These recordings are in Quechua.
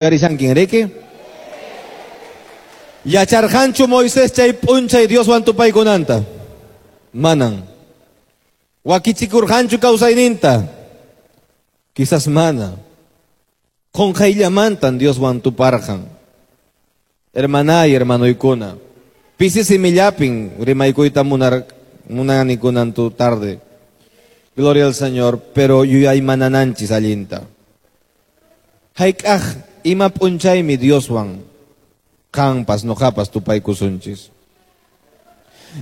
Uyarishankin riki? Yacharqanchu Moisés chay p'unchay Dioswan tupaykunanta? Manan. Wakichikurqanchu kawsayninta? Quizás mana. Qunqayllamantan Dioswan tuparqan. Hermanay, hermanoykuna. Pisi simillapin rimaykuyta munani kunan tarde. Gloria al Señor, pero yuyaymanananchis allinta. Hayk'aq ima p'unchaymi Dioswan qanpas noqapas tupaykusunchis.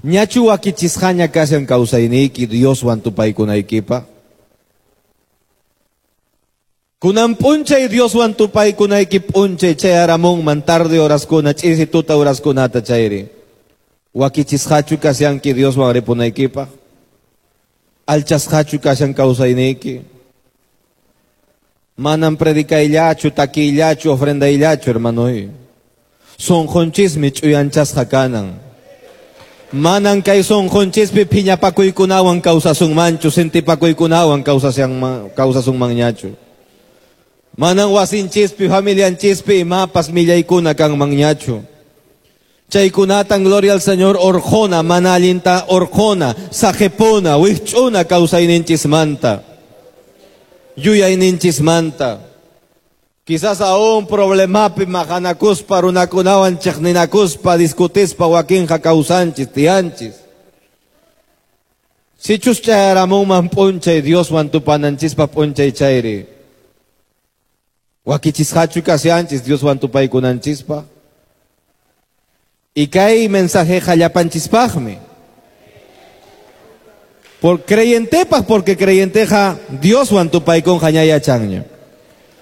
Ñachu wakichisqaña kashan kawsayniyki Dioswan tupaykunaykipaq? Kunan p'unchay Dioswan tupaykunayki p'unchay chayaramunman tarde horaskuna, ch'isi tuta horaskunata chayri. Wakichisqachu kashanki Dioswan ripunaykipaq? Alchasqachu kashan kawsayniyki? Manan predicayllachu, takiyllachu, ofrendayllachu, hermanoy. Sunqunchismi ch'uyanchasqa kanan. Manan kay sunqunchispi phiñapakuykunawan kawsasunmanchu, sintipakuykunawan kawsasunmanñachu. Manan wasinchispi, familianchispi imapas millaykuna kanmanñachu. Chaykunatan, gloria al Señor, orqona, mana allinta orqona, saqepuna, wikch'una kawsayninchismanta. Yuyayninchismanta. Quizás aún problemapi maqanakuspa, runakunawan chiqninakuspa, discutispa, wakinqa kawsanchis, tiyanchis. Sichus chayaramunman p'unchay Dioswan tupananchispa p'unchay chayri. Wakichisqachu kashanchis Dioswan tupaykunanchispa. Y kay mensajeqa llapanchispaqmi. Por creyentepaq, porque creyenteqa Dioswan tupaykunqa ña yachanña.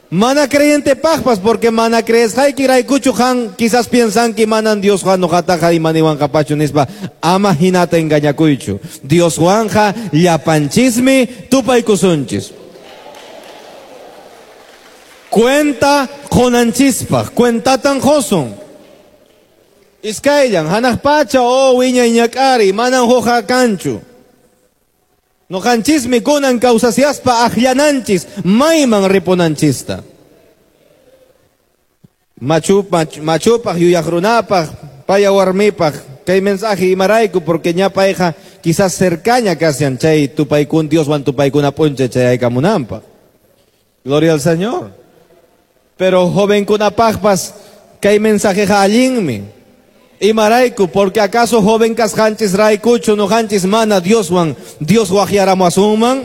Mana creyentepaqpas, porque mana creesqayki raykuchu qan quizás piensanki manan Diosqa noqataqa imaniwanqapachu nispa, ama hinata engañakuychu. Dioswanqa llapanchismi tupaykusunchis. Cuenta qunanchispaq, cuentatan qosun. Iskayllan, hanaq pacha o wiñay ñak'ari, manan huqa kanchu. Noqanchismi kunan kawsasiaspa aqllananchis mayman ripunanchista. Machupaq, yuyaq runapaq, paya warmipaq, kay mensaje imarayku, porque ña payqa quizás cercaña kashan chay tupaykun Dioswan tupaykuna p'unchay chayaykamunanpaq. Gloria al Señor. Pero jovenkunapaqpas kay mensajeqa allinmi. Imarayku, porque acaso joven kasqanchis raykuchu noqanchis mana Dioswan Dios waqyaramuwasunman?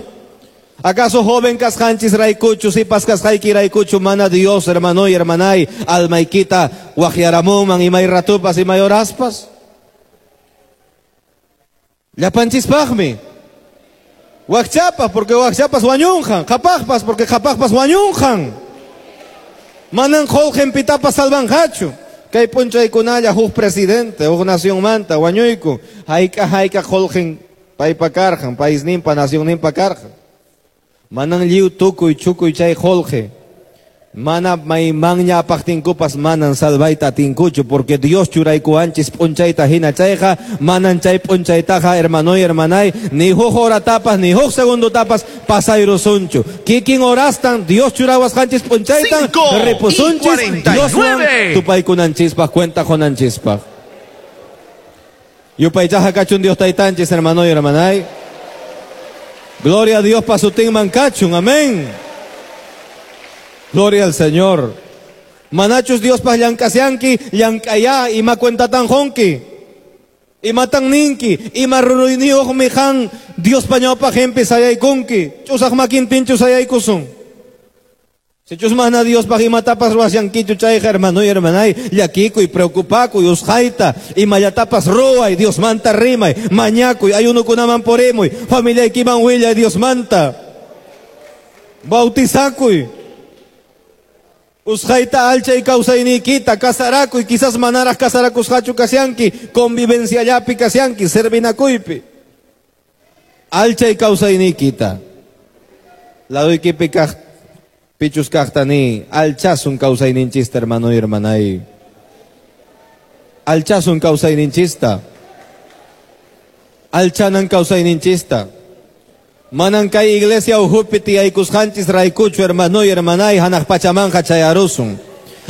Acaso joven kasqanchis raykuchu sipas kasqayki raykuchu mana Dios, hermano y hermanay, almaykita waqyaramunman imay ratupas imay horaspas? Llapanchispaqmi. Wakchapas, porque wakchapas wañunqan, qhapaqpas, porque qhapaqpas wañunqan. Manan qullqin pitapas salvanqachu. Kay p'unchaykunalla huk presidente, huk nacionmanta wañuyku, hayk'a hayk'a qullqin paypa karqan, paisninpa, nacionninpa karqan. Manan lliw tukuy chukuy chay qullqi. Mana maymanña apaqtinkupas manan salvayta atinkuchu, porque Dios churaykuwanchis p'unchayta hina chayqa, manan chay p'unchaytaqa, hermanoy, hermanay, ni huk horatapas, ni huk segundotapas pasayrusunchu. Kikin horastan Dios churawasqanchis p'unchaytan ripusunchis Dioswan tupaykunanchispaq, cuenta qunanchispaq. Yupaychaqa kachun Dios taytanchis, hermanoy, hermanay. Gloria a Dios pasutinman kachun, amén. Gloria al Señor. Manachus Dios pas llank'asyanki, llank'aya, ima cuentatan qunki, imatan ninki, ima ruruyniyuqmi qan Dios pañawpaqinpi sayaykunki, ch'usaq makintinchu sayaykusun. Sichus mana Diospaq imatapas ruwasyankichu chayqa, hermano y hermanay, llakikuy, preocupakuy, usqhayta, imallatapas ruway, Diosmanta rimay, mañakuy, ayunukunaman purimuy, familiaykiman willay Diosmanta. Bautizakuy. Usqhayta alchay kawsayniykita, kasarakuy, quizás manaraq kasarakusqachu kashanki, convivenciallapi kashanki, servinakuypi. Alchay kawsayniykita. Laduykipi kaq pichus kaqtani, alchasun kawsayninchista, hermano y hermanay. Alchasun kawsayninchista. Alchanan kawsayninchista. Manan kay iglesia uhupi tiyaykusqanchis raykuchu, hermano y hermanay, hanaq pachamanqa chayarusun.